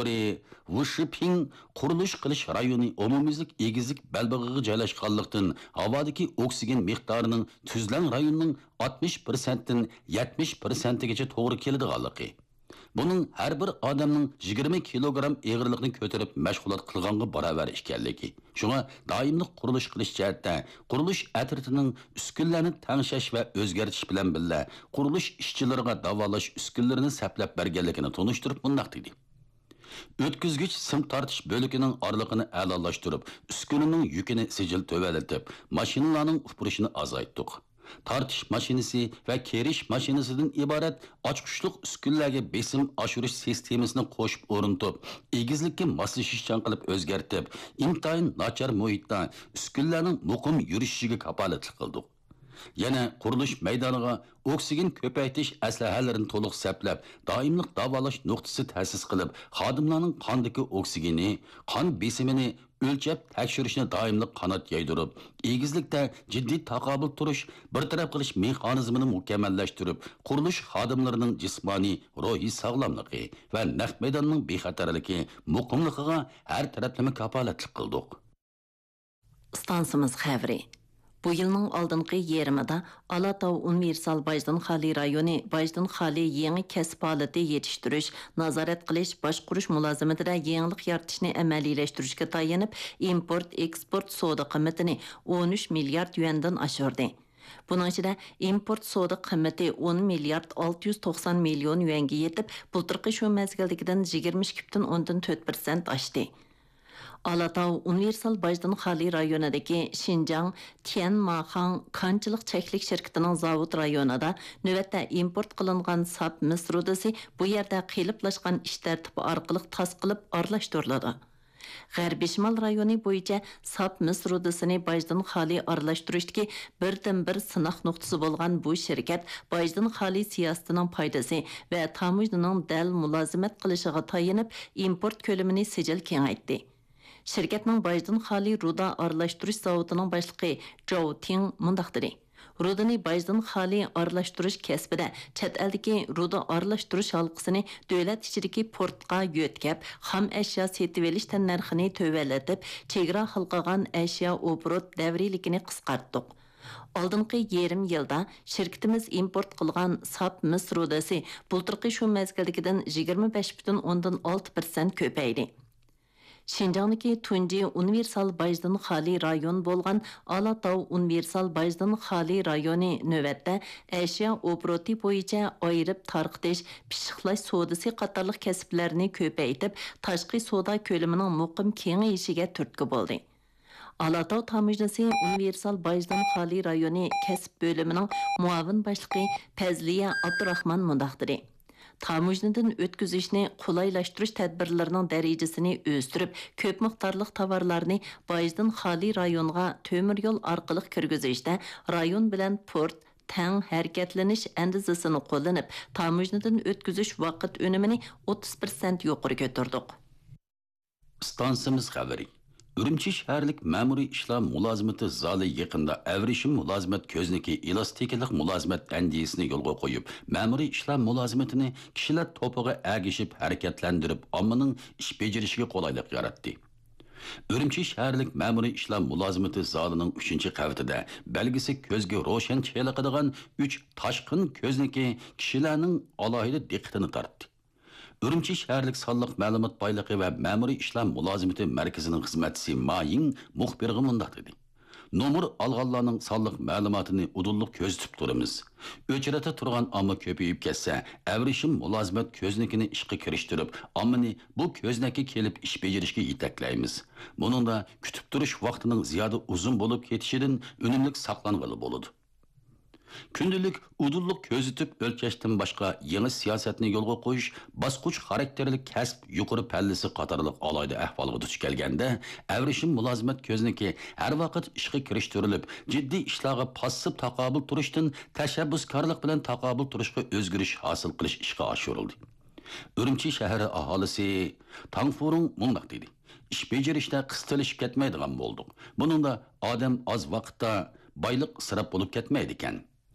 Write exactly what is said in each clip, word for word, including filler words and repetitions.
ئوپېراتورى ۋۇ شىپىڭ قۇرۇلۇش قىلىش رايونى ئومۇميۈزلۈك ئېگىزلىك بەلبېغىغا جايلاشقانلىقتىن، ھاۋادىكى ئوكسىگېن مىقدارىنىڭ تۈزلەڭ رايوننىڭ ئاتمىش پىرسەنتتىن يەتمىش پىرسەنتىگىچە توغرا كېلىدىغانلىقى، بۇنىڭ ھەر بىر ئادەمنىڭ يىگىرمە كىلوگرام ئېغىرلىقنى كۆتۈرۈپ مەشغۇلات قىلغانغا باراۋەر ئىكەنلىكى، شۇڭا دائىملىق قۇرۇلۇش قىلىش جەھەتتە قۇرۇلۇش ئەترىتىنىڭ ئۈسكۈنىلەرنى تەڭشەش ۋە ئۆزگەرتىش بىلەن بىللە، قۇرۇلۇش ئىشچىلىرىغا داۋالاش ئۈسكۈنىلىرىنى سەپلەپ بەرگەنلىكىنى تونۇشتۇرۇپ مۇنداق دېدى: ئۆتكۈزگۈچ سىم تارتىش بۆلىكىنىڭ ئارىلىقىنى ئەلالاشتۇرۇپ، ئۈسكۈنىنىڭ يۈكىنى سىجىل تۆۋەنلىتىپ، ماشىنىلارنىڭ ئۇپرىشىنى ئازايتتۇق. تارتىش ماشىنىسى ۋە كېرىش ماشىنىسىدىن ئىبارەت ئاچقۇچلۇق ئۈسكۈنىلەرگە بېسىم ئاشۇرۇش سىستېمىسىنى قوشۇپ ئورنىتىپ، ئېگىزلىككە ماسلىشىشچان قىلىپ ئۆزگەرتىپ، ئىنتايىن ناچار مۇھىتتا ئۈسكۈنىلەرنىڭ مۇقىم يۈرۈشۈشىگە كاپالەتلىك قىلدۇق. يەنە قۇرۇلۇش مەيدانىغا ئوكسىگېن كۆپەيتىش ئەسلىھەلىرىنى تولۇق سەپلەپ، دائىملىق داۋالاش نۇقتىسى تەسىس قىلىپ، خادىملارنىڭ قاندىكى ئوكسىگېنى، قان بېسىمىنى ئۆلچەپ تەكشۈرۈشنى دائىملىق قانات يايدۇرۇپ، ئېگىزلىكتە جىددىي تاقابىل تۇرۇش، بىر تەرەپ قىلىش مېخانىزمىنى مۇكەممەللەشتۈرۈپ، قۇرۇلۇش خادىملىرىنىڭ جىسمانىي، روھىي ساغلاملىقى ۋە نەق مەيداننىڭ بىخەتەرلىكى، مۇقىملىقىغا ھەر تەرەپلىمە كاپالەتلىك قىلدۇق. ئىستانسىمىز خەۋىرى. بۇ يىلنىڭ ئالدىنقى يېرىمىدا ئالاتاۋ ئۇنىۋېرسال باجدىن خالىي رايونى باجدىن خالىي يېڭى كەسىپ ھالىتى يېتىشتۈرۈش، نازارەت قىلىش، باشقۇرۇش مۇلازىمىتىدە يېڭىلىق يارىتىشنى ئەمەلىيلەشتۈرۈشكە تايىنىپ، ئىمپورت، ئېكسپورت سودا قىممىتىنى ئون ئۈچ مىليارد يۈەندىن ئاشۇردى. بۇنىڭ ئىچىدە ئىمپورت سودا قىممىتى ئون مىليارد ئالتە يۈز توقسان مىليون يۈەنگە يېتىپ، بۇلتۇرقى شۇ مەزگىلدىكىدىن يىگىرمە ئىككى پۈتۈن ئوندىن تۆت پىرسەنت ئاشتى. ئالاتاۋ ئۇنىۋېرسال باجدىن خالىي رايونىدىكى شىنجاڭ تيەنماخاڭ كانچىلىق چەكلىك شىركىتىنىڭ زاۋۇت رايونىدا نۆۋەتتە ئىمپورت قىلىنغان ساپ مىس رۇدىسى بۇ يەردە قېلىپلاشقان ئىش تەرتىپى ئارقىلىق تاسقىلىپ ئارىلاشتۇرۇلىدۇ. غەربىي شىمال رايونى بويىچە ساپ مىس رۇدىسىنى باجدىن خالىي ئارىلاشتۇرۇشتىكى بىردىنبىر سىناق نۇقتىسى بولغان بۇ شىركەت باجدىن خالىي سىياسىتىنىڭ پايدىسى ۋە تاموژنىنىڭ دەل مۇلازىمەت قىلىشىغا تايىنىپ، ئىمپورت كۆلىمىنى سىجىل كېڭەيتتى. شىركەتنىڭ باجدىن خالىي رۇدا ئارىلاشتۇرۇش زاۋۇتىنىڭ باشلىقى جاۋ تىڭ مۇنداق دېدى: رۇدىنى باجدىن خالىي ئارىلاشتۇرۇش كەسپىدە چەت ئەلدىكى رۇدا ئارىلاشتۇرۇش ھالقىسىنى دۆلەت ئىچىدىكى پورتقا يۆتكەپ، خام ئەشيا سېتىۋېلىش تەننەرخىنى تۆۋەنلىتىپ، چېگرا ھالقىغان ئەشيا ئوبوروت دەۋرىيلىكىنى قىسقارتتۇق. ئالدىنقى يېرىم يىلدا شىركىتىمىز ئىمپورت قىلغان ساپ مىس رۇدىسى بۇلتۇرقى شۇ مەزگىلدىكىدىن يىگىرمە بەش پۈتۈن ئوندىن ئالتە پىرسەنت كۆپەيدى. شىنجاڭدىكى تۇنجى ئۇنىۋېرسال باجدىن خالىي رايون بولغان ئالاتاۋ ئۇنىۋېرسال باجدىن خالىي رايونى نۆۋەتتە ئەشيا ئوبوروتى بويىچە ئايرىپ تارقىتىش، پىششىقلاش سودىسى قاتارلىق كەسىپلەرنى كۆپەيتىپ، تاشقى سودا كۆلىمىنىڭ مۇقىم كېڭىيىشىگە تۈرتكە بولدى. ئالاتاۋ تاموژنىسى ئۇنىۋېرسال باجدىن خالىي رايونى كەسىپ بۆلۈمىنىڭ مۇئاۋىن باشلىقى پەزلىيە ئابدۇراخمان مۇنداق دېدى: تاموژنىدىن ئۆتكۈزۈشنى قولايلاشتۇرۇش تەدبىرلىرىنىڭ دەرىجىسىنى ئۆستۈرۈپ، كۆپ مىقدارلىق تاۋارلارنى باجدىن خالىي رايونغا تۆمۈر يول ئارقىلىق كىرگۈزۈشتە رايون بىلەن پورت تەڭ ھەرىكەتلىنىش ئەندىزىسىنى قوللىنىپ، تاموژنىدىن ئۆتكۈزۈش ۋاقىت ئۈنۈمىنى ئوتتۇز پىرسەنت يۇقىرى كۆتۈردۇق. ئىستانسىمىز خەۋىرى. ئۈرۈمچى شەھەرلىك مەمۇرىي ئىشلار مۇلازىمىتى زالى يېقىندا ئەۋرىشىم مۇلازىمەت كۆزنىكى ئېلاستىكىلىق مۇلازىمەت ئەندىزىسىنى يولغا قويۇپ، مەمۇرىي ئىشلار مۇلازىمىتىنى كىشىلەر توپىغا ئەگىشىپ ھەرىكەتلەندۈرۈپ، ئاممىنىڭ ئىش بېجىرىشىگە قولايلىق ياراتتى. ئۈرۈمچى شەھەرلىك مەمۇرىي ئىشلار مۇلازىمىتى زالىنىڭ ئۈچىنچى قەۋىتىدە بەلگىسى كۆزگە روشەن چېلىقىدىغان ئۈچ تاشقىن كۆزنىكى كىشىلەرنىڭ ئالاھىدە دىققىتىنى تارتتى. ئۈرۈمچى شەھەرلىك سانلىق مەلۇمات بايلىقى ۋە مەمۇرىي ئىشلار مۇلازىمىتى مەركىزىنىڭ خىزمەتچىسى ما يىڭ مۇخبىرغا مۇنداق دېدى: نومۇر ئالغانلارنىڭ سانلىق مەلۇماتىنى ئۇدۇللۇق كۆزىتىپ تۇرىمىز. ئۆچرەتتە تۇرغان ئامما كۆپىيىپ كەتسە، ئەۋرىشىم مۇلازىمەت كۆزنىكىنى ئىشقا كىرىشتۈرۈپ، ئاممىنى بۇ كۆزنەككە كېلىپ ئىش بېجىرىشكە يېتەكلەيمىز. بۇنىڭدا كۈتۈپ تۇرۇش ۋاقتىنىڭ زىيادە ئۇزۇن بولۇپ كېتىشىدىن ئۈنۈملۈك ساقلانغىلى بولىدۇ. كۈندىلىك ئۇدۇللۇق كۆزىتىپ ئۆلچەشتىن باشقا يېڭى سىياسەتنى يولغا قويۇش، باسقۇچ خاراكتېرلىك كەسىپ يۇقىرى پەللىسى قاتارلىق ئالاھىدە ئەھۋالغا دۇچ كەلگەندە، ئەۋرىشىم مۇلازىمەت كۆزنىكى ھەر ۋاقىت ئىشقا كىرىشتۈرۈلۈپ، جىددىي ئىشلارغا پاسسىپ تاقابىل تۇرۇشتىن تەشەببۇسكارلىق بىلەن تاقابىل تۇرۇشقا ئۆزگىرىش ھاسىل قىلىش ئىشقا ئاشۇرۇلدى. ئۈرۈمچى شەھىرى ئاھالىسى تاڭ فۇرۇڭ مۇنداق دېدى: ئىش بېجىرىشتە قىستىلىشىپ كەتمەيدىغان بولدۇق. بۇنىڭدا ئادەم ئاز ۋاقىتتا بايلىق ئىسراپ بولۇپ كەتمەيدىكەن.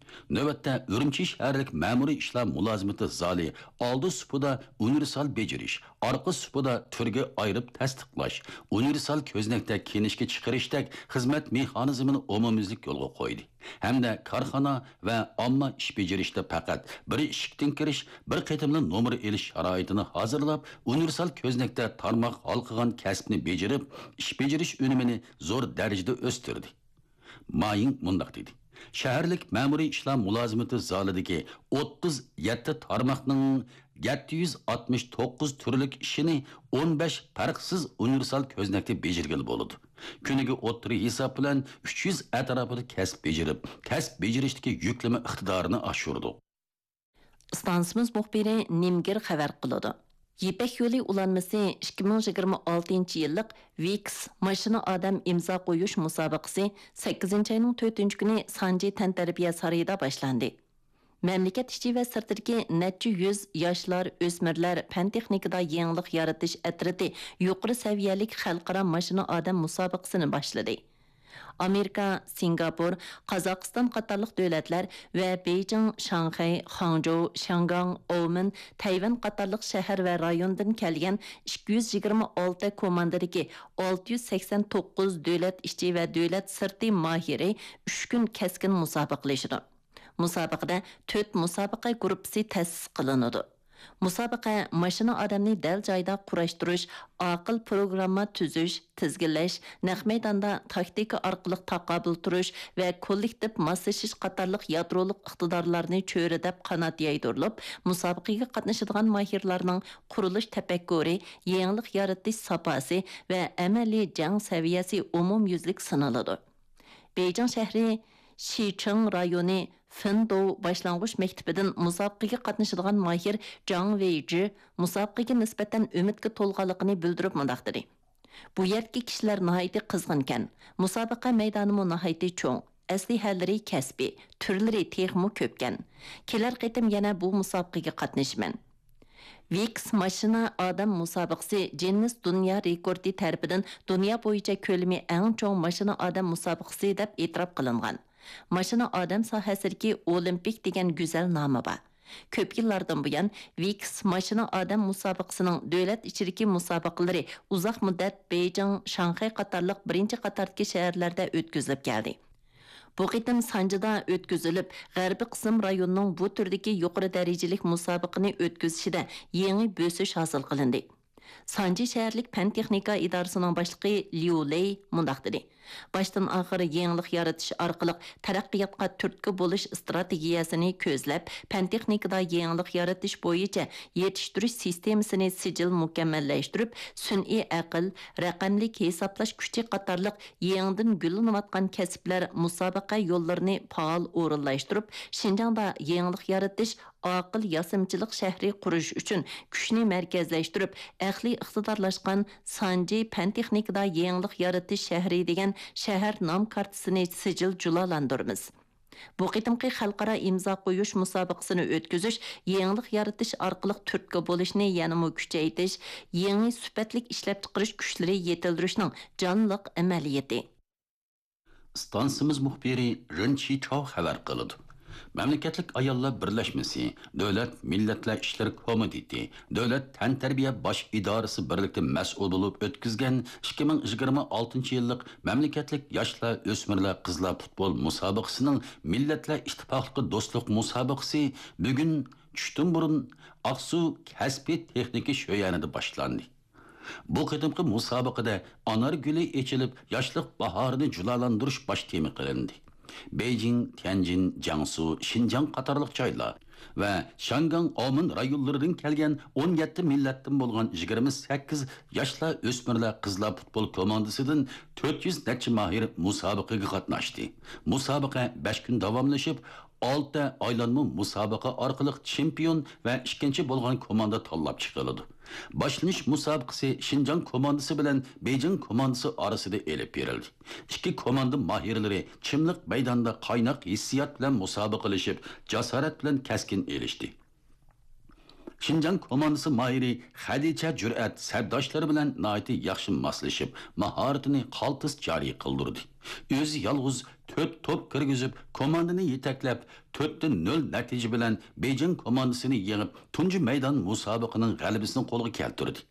نۆۋەتتە ئۈرۈمچى شەھەرلىك مەمۇرىي ئىشلار مۇلازىمىتى زالى ئالدى سۇپىدا ئۇنىۋېرسال بېجىرىش، ئارقا سۇپىدا تۈرگە ئايرىپ تەستىقلاش، ئۇنىۋېرسال كۆزنەكتە كىنىشكا چىقىرىشتەك خىزمەت مېخانىزمىنى ئومۇميۈزلۈك يولغا قويدى ھەمدە كارخانا ۋە ئامما ئىش بېجىرىشتە پەقەت بىر ئىشىكتىن كىرىش، بىر قېتىملا نومۇر ئېلىش شارائىتىنى ھازىرلاپ، ئۇنىۋېرسال كۆزنەكتە تارماق ھالقىغان كەسىپنى بېجىرىپ، ئىش بېجىرىش ئۈنۈمىنى زور دەرىجىدە ئۆستۈردى. مايىڭ مۇنداق دېدى: شەھەرلىك مەمۇرىي ئىشلار مۇلازىمىتى زالىدىكى ئوتتۇز يەتتە تارماقنىڭ يەتتە يۈز ئاتمىش توققۇز تۈرلۈك ئىشىنى ئون بەش پەرقسىز ئۇنىۋېرسال كۆزنەكتە بېجىرگىلى بولىدۇ. كۈنىگە ئوتتۇرا ھېساب بىلەن ئۈچ يۈز ئەتراپىدا كەسىپ بېجىرىپ، كەسىپ بېجىرىشتىكى يۈكلىمە ئىقتىدارىنى ئاشۇردۇق. ئىستانسىمىز مۇخبىرى نىمگىر خەۋەر قىلىدۇ. يىپەك يولى ئۇلانمىسى ئىككى مىڭ يىگىرمە ئالتىنچى يىللىق ۋىكس ماشىنا ئادەم ئىمزا قويۇش مۇسابىقىسى سەككىزىنچى ئاينىڭ تۆتىنچى كۈنى سانجى تەنتەربىيە سارىيىدا باشلاندى. مەملىكەت ئىچى ۋە سىرتىدىكى نەچچە يۈز ياشلار، ئۆسمۈرلەر پەن تېخنىكىدا يېڭىلىق يارىتىش ئەترىتى يۇقىرى سەۋىيەلىك خەلقئارا ماشىنا ئادەم مۇسابىقىسىنى باشلىدى. ئامېرىكا، سىنگاپور، قازاقىستان قاتارلىق دۆلەتلەر ۋە بېيجىڭ، شاڭخەي، خاڭجۇ، شياڭگاڭ، ئومېن، تەيۋەن قاتارلىق شەھەر ۋە رايوندىن كەلگەن ئىككى يۈز يىگىرمە ئالتە كوماندىدىكى ئالتە يۈز سەكسەن توققۇز دۆلەت ئىچى ۋە دۆلەت سىرتى ماھىرى ئۈچ كۈن كەسكىن مۇسابىقىلىشىدۇ. مۇسابىقىدە تۆت مۇسابىقە گۇرۇپپىسى تەسىس قىلىنىدۇ. مۇسابىقە ماشىنا ئادەمنى دەل جايدا قۇراشتۇرۇش، ئاقىل پروگرامما تۈزۈش، تىزگىنلەش، نەق مەيداندا تاكتىكا ئارقىلىق تاقابىل تۇرۇش ۋە كوللېكتىپ ماسلىشىش قاتارلىق يادرولۇق ئىقتىدارلارنى چۆرىدەپ قانات يايدۇرۇلۇپ، مۇسابىقىگە قاتنىشىدىغان ماھىرلارنىڭ قۇرۇلۇش تەپەككۇرى، يېڭىلىق يارىتىش ساپاسى ۋە ئەمەلىي جەڭ سەۋىيەسى ئومۇميۈزلۈك سىنىلىدۇ. بېيجىڭ شەھىرى شىچىڭ رايونى فېندوۋ باشلانغۇچ مەكتىپىدىن مۇسابىقىگە قاتنىشىدىغان ماھىر جاڭ ۋېيجى مۇسابىقىگە نىسبەتەن ئۈمىدكە تولغانلىقىنى بىلدۈرۈپ مۇنداق دېدى: بۇ يەردىكى كىشىلەر ناھايىتى قىزغىنكەن، مۇسابىقە مەيدانىمۇ ناھايىتى چوڭ، ئەسلىھەلىرى كەسپىي، تۈرلىرى تېخىمۇ كۆپكەن. كېلەر قېتىم يەنە بۇ مۇسابىقىگە قاتنىشىمەن. ۋىكس ماشىنا ئادەم مۇسابىقىسى جىننېس دۇنيا رېكورتى تەرىپىدىن دۇنيا بويىچە كۆلىمى ئەڭ چوڭ ماشىنا ئادەم مۇسابىقىسى دەپ ئېتىراپ قىلىنغان. ماشىنا ئادەم ساھەسىدىكى ئولىمپىك دېگەن گۈزەل نامى بار. كۆپ يىللاردىن بۇيان ۋىكس ماشىنا ئادەم مۇسابىقىسىنىڭ دۆلەت ئىچىدىكى مۇسابىقىلىرى ئۇزاق مۇددەت بېيجىڭ، شاڭخەي قاتارلىق بىرىنچى قاتاردىكى شەھەرلەردە ئۆتكۈزۈلۈپ كەلدى. بۇ قېتىم سانجىدا ئۆتكۈزۈلۈپ، غەربىي قىسىم رايونىنىڭ بۇ تۈردىكى يۇقىرى دەرىجىلىك مۇسابىقىنى ئۆتكۈزۈشىدە يېڭى بۆسۈش ھاسىل قىلىندى. سانجى شەھەرلىك پەن تېخنىكا ئىدارىسىنىڭ باشلىقى ليۇ لېي مۇنداق دېدى: باشتىن ئاخىر يېڭىلىق يارىتىش ئارقىلىق تەرەققىياتقا تۈرتكە بولۇش ئىستراتېگىيەسىنى كۆزلەپ، پەن تېخنىكىدا يېڭىلىق يارىتىش بويىچە يېتىشتۈرۈش سىستېمىسىنى سىجىل مۇكەممەللەشتۈرۈپ، سۈنئىي ئەقىل، رەقەملىك ھېسابلاش كۈچى قاتارلىق يېڭىدىن گۈللىنىۋاتقان كەسىپلەر مۇسابىقە يوللىرىنى پائال ئورۇنلاشتۇرۇپ، شىنجاڭدا يېڭىلىق يارىتىش، ئاقىل ياسىمىچىلىق شەھىرى قۇرۇش ئۈچۈن كۈچنى مەركەزلەشتۈرۈپ، ئەقلىي ئىقتىدارلاشقان سانجى پەن تېخنىكىدا يېڭىلىق يارىتىش شەھىرى دېگەن شەھەر نام كارتىسىنى سىجىل جۇلالاندۇرىمىز. بۇ قېتىمقى خەلقئارا ئىمزا قويۇش مۇسابىقىسىنى ئۆتكۈزۈش، يېڭىلىق يارىتىش ئارقىلىق تۈرتكە بولۇشنى يەنىمۇ كۈچەيتىش، يېڭى سۈپەتلىك ئىشلەپچىقىرىش كۈچلىرى يېتىلدۈرۈشنىڭ جانلىق ئەمەلىيىتى. ئىستانسىمىز مۇخبىرى رېن چىچاۋ خەۋەر قىلىدۇ. مەملىكەتلىك ئاياللار بىرلەشمىسى، دۆلەت مىللەتلەر ئىشلىرى كومىتېتى، دۆلەت تەنتەربىيە باش ئىدارىسى بىرلىكتە مەسئۇل بولۇپ ئۆتكۈزگەن ئىككى مىڭ يىگىرمە ئالتىنچى يىللىق مەملىكەتلىك ياشلار، ئۆسمۈرلەر، قىزلار پۇتبول مۇسابىقىسىنىڭ مىللەتلەر ئىتتىپاقلىقى دوستلۇق مۇسابىقىسى بۈگۈن چۈشتىن بۇرۇن ئاقسۇ كەسپىي تېخنىكا شۆيەنىدە باشلاندى. بۇ قېتىمقى مۇسابىقىدە ئانار گۈلى ئېچىلىپ، ياشلىق باھارىنى جۇلالاندۇرۇش باش تېما قىلىندى. بېيجىڭ، تيەنجىن، جياڭسۇ، شىنجاڭ قاتارلىق جايلار ۋە شياڭگاڭ، ئاۋمېن رايونلىرىدىن كەلگەن ئون يەتتە مىللەتتىن بولغان يىگىرمە سەككىز ياشلار، ئۆسمۈرلەر، قىزلار پۇتبول كوماندىسىدىن تۆت يۈز نەچچە ماھىر مۇسابىقىگە قاتناشتى. مۇسابىقە بەش كۈن داۋاملىشىپ، ئالتە ئايلانما مۇسابىقە ئارقىلىق چېمپىيون ۋە ئىككىنچى بولغان كوماندا تاللاپ چىقىلىدۇ. باشلىنىش مۇسابىقىسى شىنجاڭ كوماندىسى بىلەن بېيجىڭ كوماندىسى ئارىسىدا ئېلىپ بېرىلدى. ئىككى كوماندا ماھىرلىرى چىملىق مەيدانىدا قايناق ھېسسىيات بىلەن مۇسابىقىلىشىپ، جاسارەت بىلەن كەسكىن ئېلىشتى. شىنجاڭ كوماندىسى ماھىرى خەدىچە جۈرئەت سەپداشلىرى بىلەن ناھايىتى ياخشى ماسلىشىپ، ماھارىتىنى قالتىس جارى قىلدۇردى. ئۆزى يالغۇز تۆت توپ كىرگۈزۈپ، كوماندىنى يېتەكلەپ، تۆتتە نۆل نەتىجە بىلەن بېيجىڭ كوماندىسىنى يېڭىپ، تۇنجى مەيدان مۇسابىقىنىڭ غەلىبىسىنى قولغا كەلتۈردى.